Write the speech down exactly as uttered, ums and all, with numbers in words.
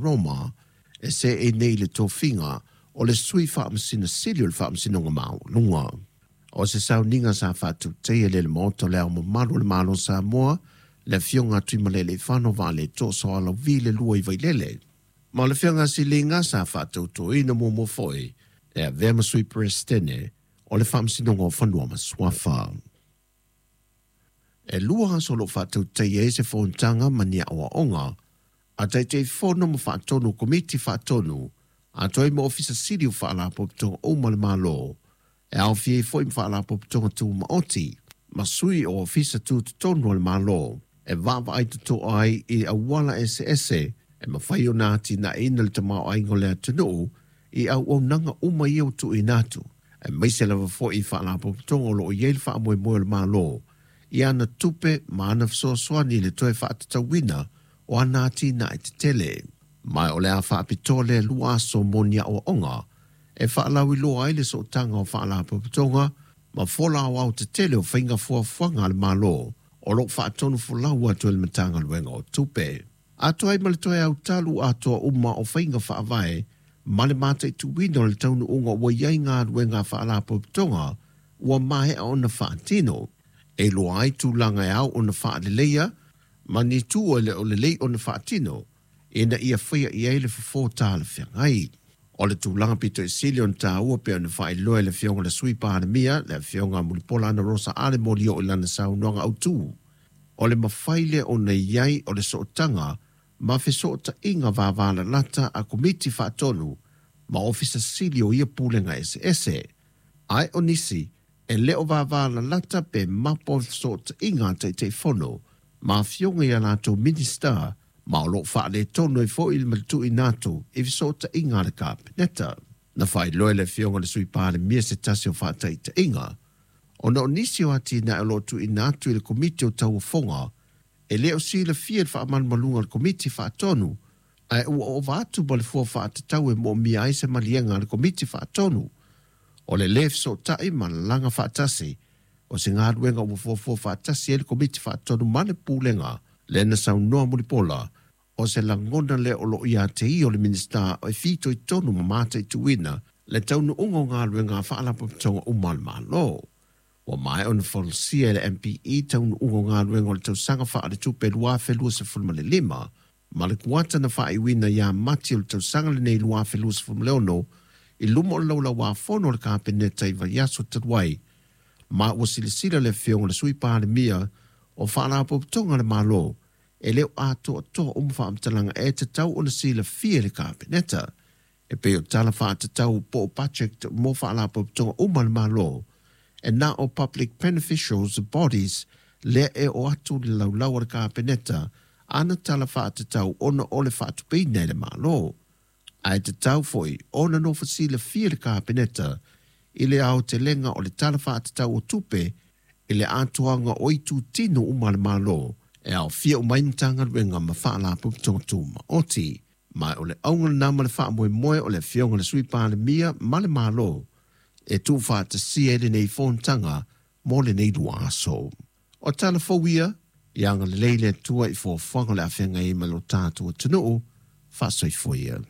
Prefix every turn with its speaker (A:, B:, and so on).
A: Koroma e seei nei i le tofiga o le Sui Faamasino Sili o le Faamasinoga Maualuga. O se sauniga sa faatautaia e le Maota o le Ao Mamalu o le Malo o Samoa, le Afioga a Tuimalealiifano Vaaletoa Sualauvi le lua i Vailele. Ma o le fegasiliga sa faatautoina muamua foi e avea ma Sui Peresetene o le Faamasinoga o Fanua ma Suafa. E lua aso o loo faatautaia ai se fonotaga ma ni aoaoga a Taitaifono ma Faatonu o Komiti Faatonu atoa ai ma Ofisa Sili o Faalapotopotoga uma a le Malo e aofia ai foi ma Faalapotopotoga Tumaoti ma sui o Ofisa Tutotonu o le Malo e vaavaai totoa ai i auala eseese e mafai ona atinaeina le tamaoaiga o le atunuu i auaunaga uma ia ua tuuina atu aemaise lava foi i Faalapotopotoga o loo i ai le faamoemoe o le Malo i ana tupe ma ana fesoasoani i le toe faatatauina o ana atinae tetele. Ma o le a faapitoa lea lua aso mo ni aoaoga e faalauiloa ai le sootaga o Faalapotopotoga ma fola aoao tetele o faiga fuafuaga a le Malo o loo faatonu folau atu e le Matagaluega o Tupe. Atoa ai ma le toe autalu atoa uma o faiga faavae ma le mataituina o le taunuuga ua i ai galuega a Faalapotopotoga ua maea ona faatino, e iloa ai tulaga e ao ona faaleleia ma ni itu e le o lelei ona faatino ina ia faia i ai le fofo talafeagai. O le tulaga pito i sili ona taua pei ona faailoa e le Afioga i le Sui Palemia, le Afioga Mulipola Anarosa Ale Molioo i lana saunoaga autu, o le mafai lea ona i ai o le sootaga ma fesootaiga vavalalata a Komiti Faatonu ma Ofisa Sili o ia pulega eseese. Ae o nisi e le o vavalalata pe mapo o fesootaiga a Taitaifono ma afioga i a latou Minisita ma o loo faaletonu ai foi le matuuina atu i fesootaiga a le Kapeneta. Na faailoa e le Afioga i le Sui Palemia se tasi o faataitaiga ona o nisi o atinae o loo tuuina atu i le Komiti o Tauofoga e le o silafia i le faamalumaluga a le Komiti Faatonu ae ua ova atu ma le fua faatatau e moomia ai se maliega a le Komiti Faatonu. O le lē fesootai ma lalaga faatasi o se galuega ua fuafua faatasi ai le Komiti Faatonu ma le Pulega lea na saunoa Mulipola o se lagona lea o loo ia te ia o le Minisita e fitoitonu ma mataituina le taunuuga o galuega a Faalapotopotoga uma a le Malo. Ua maea ona folasia e le M P E taunuuga o galuega o le tausaga faaletupe lua afe luasefulu ma le lima ma le kuata na faaiuina ia Mati o le tausaga lenei lua afe luasefulu ma le ono i luma o le laulauafono o le Kapeneta i vaiaso talu ai ma ua silasila le Afioga i le Sui Palemia o Faalapotopotoga a le Malo e le o atoatoa uma faamatalaga e tatau ona silafia e le Kapeneta e pei o tala faatatau po o budget mo Faalapotopotoga uma a le Malo e na o Public Beneficials Bodies lea e o atu le laulau a le Kapeneta ana tala faatatau ona o le faatupeina e le Malo. Ae tatau foi ona nofo silafia le Kapeneta i le aotelega o le tala faatatau o tupe i le atoaga o itutino uma a le Malo e aofia uma ai Matagaluega ma Faalapotopotoga Tumaoti. Ma o le auga lena ma le faamoemoe o le Afioga i le Sui Palemia ma le Malo e tuufaatasia ai lenei fonotaga mo lenei lua aso. O tala fou ia, ia agalelei le Atua i fuafuaga o le afeagai ai ma lo tatou atunuu, faasoifua ia.